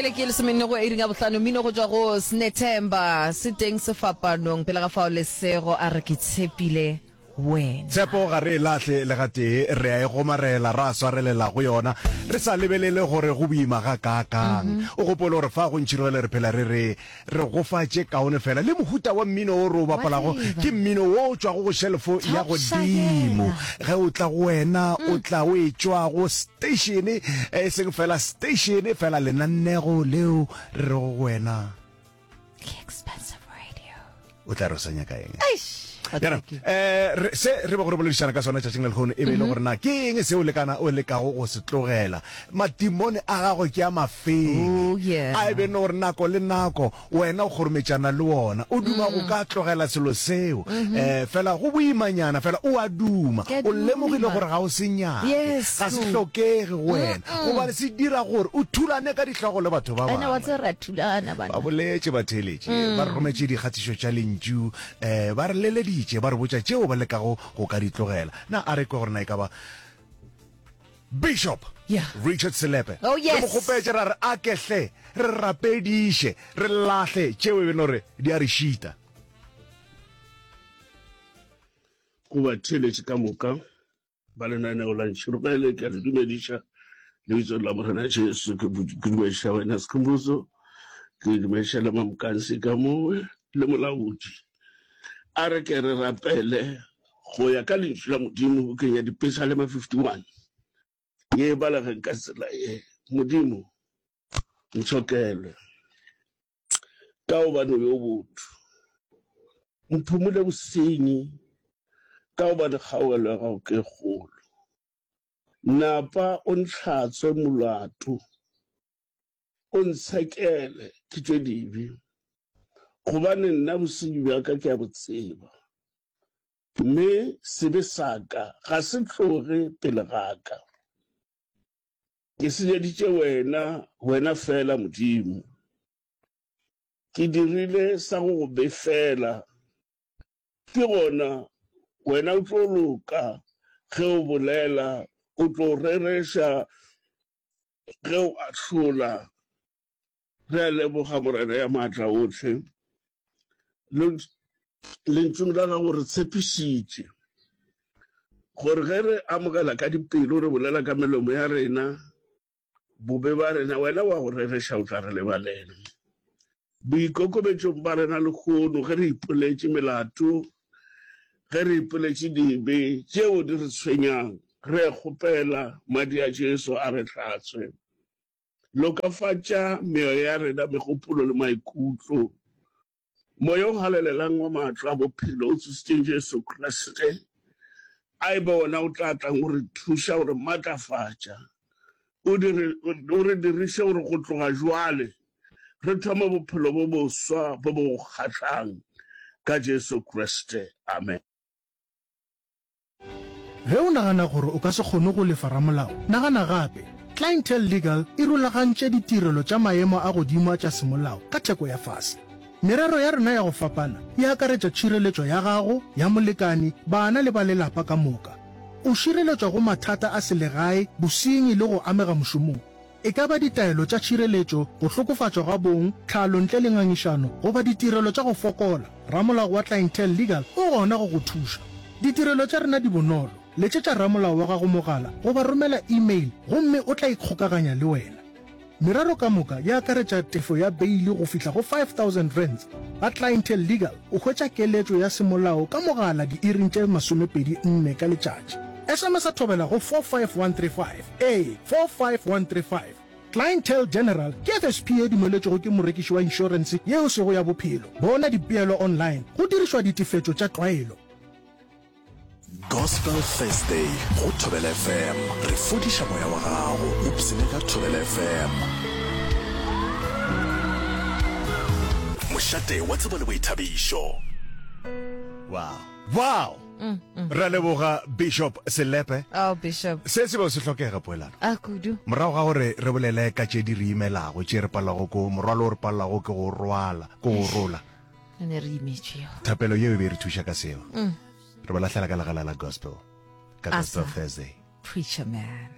pele ke lesomenne go iring ya bohlano mmino go tšwa go Snethemba se teng sefapanong pele ga fao lesego a re ke tshepile wena. Tshepo ga re e lahle le gatee, re a e gomarela, ra swarelela go yona, re sa lebelele gore go boima gakaakang. O gopole gore fa go ntšhirogele re phela re re, Re go fa tše kaone fela. Le mohuta wa mmino wo re o bapalago ke mmino wo o tšwago go shelfo ya godimo. Ge o tla go wena, o tla o etšwa go station, e seng fela station, fela lenanego leo re rego go wena. Ke expensive radio. O tla re o sa nyaka eng? Yana, eh, se re bego re boledišana ka sona tšatšing la lehono e be e le gore na ke eng seo lekana o lekago go se tlogela? Matimone a gago ke a mafeng? Oh, yeah. A e be no gore nako le nako wena o kgorometšana le ona, o duma go ka tlogela selo seo, eh, fela go boimanyana, fela o a duma, Ke a o lemogile duma. gore ga o se nyake, Yes. ga se hlokege go wena, gobane se dira gore o thulane ka dihlogo le batho ba Ene wa bangwe. tseba re a thulana bana. Ba boletše batheeletši, ba re rometše dikgatišo tša lentšu, um ba re leleditše, ba re botša tšeo ba lekago go ka di tlogela. Na a re kwe gore na e ka ba Bishop Yeah. Richard Selepe? Oh, yes. Re mo kgopetše ra re a ke hle re rapediše, re lahle tšeo e be no re di a re šita. Go batheeletši ka moka Ba lenaneo la Ntšhirogele, ke a le dumediša lebitsong la Morena Jesu. Ke dumediša wena Sekhumbuzo, ke dumediša le Mamkansi ka mowe le molaodi. A re ke re rapele go ya ka lentšu la Modimo bukeng ya Dipesalema 51 ye e balegeng ka tsela ye, Modimo, ntshokele, ka gobane o yo botho. Mphumole bosenyi, ka gobane kgaogelo ya gago ke e kgolo. Napa o ntlhatswe molato, o ntshekele ke tšwe dibe, gobane nna bosenyi bja ka ke a bo tseba, mme sebe sa ka ga se tloge pele ga ka. Ke senyeditše wena, wena feela Modimo. Ke dirile sa go go befela. Ke gona wena o tlo loka ge o bolela, o tlo rereša ge o ahlola. Re a leboga Morena ya maatla ohle. Lentšung la gago re tshepišitše gore ge re amogela ka dipelo re bolela ka melomo ya rena bobe ba rena, wena wa go rereša o tla re lebalela. Boikokobetšong ba rena lehono ge re ipoletše melato, ge re ipoletše dibe tšeo di re tshwenyang, re a kgopela madi a Jesu a re hlatswe. Lokafatša meoya ya rena, megopolo le maikutlo. Moya o Halalelang wa maatla a bophelo o tsositšeng Jesu Kriste, a e be wona o tla tlang go re thuša, go re matlafatša, o dire, o re diriše gore go tloga jwale re thome bophelo bo boswa bo bo go kgahlang ka Jesu Kriste. Amen. Ge o nagana gore o ka se kgone go lefa ramolao, nagana gape. Clientele Legal e rulagantše ditirelo tša maemo a godimo a tša semolao ka theko ya fase. Merero ya rena ya go fapana e akaretša tšhireletšo ya gago, ya molekane, bana le ba lelapa ka moka. O šireletšwa go mathata a selegae, bosenyi le go amega mošomong. E ka ba ditaelo tša tšhireletšo, go hlokofatšwa ga bong, tlhalo ntle le ngangišano, goba ditirelo tša go fokola, ramolao wa Clientele Legal o gona go go thuša. Ditirelo tša rena di bonolo, letšetša ramolao wa gago mogala goba romela e-mail gomme o tla ikgokaganya le wena. Merero ka moka e akaretša tefo ya beili go fihla go R5000. Ga Clientele Legal o hwetša keletšo ya semolao ka mogala diiring tše 24 ka letšatši. SMS-a thobela go 45135. Ee, 45135. Clientele General ke FSP ye dumeletšwego ke morekiši wa inšorense yeo sego ya bophelo. Bona dipeelo online go dirišwa ditefetšo tša tlwaelo. Gospel Thursday go Thobela FM. Re fodiša moya wa gago. Ipshine ka Thobela FM. Mošate wa tsebo le boithabišo. Wow. Wow. Mm, mm. Ra leboga Bishop Selepe. Oh, Bishop. Se se be se hlokega poelano. A kudu. Morago ga gore re bolele ka tše di re imelago, tše re palelago ko morwalo o re palelago ke go rwala, ke go rola. Re ne re imetšwe yo. Thapelo yeo e be e re thuša ka seo. Mm. Re ba lahlela ka legala la gospel. Ka Gospel Asa. Thursday. Preacher man.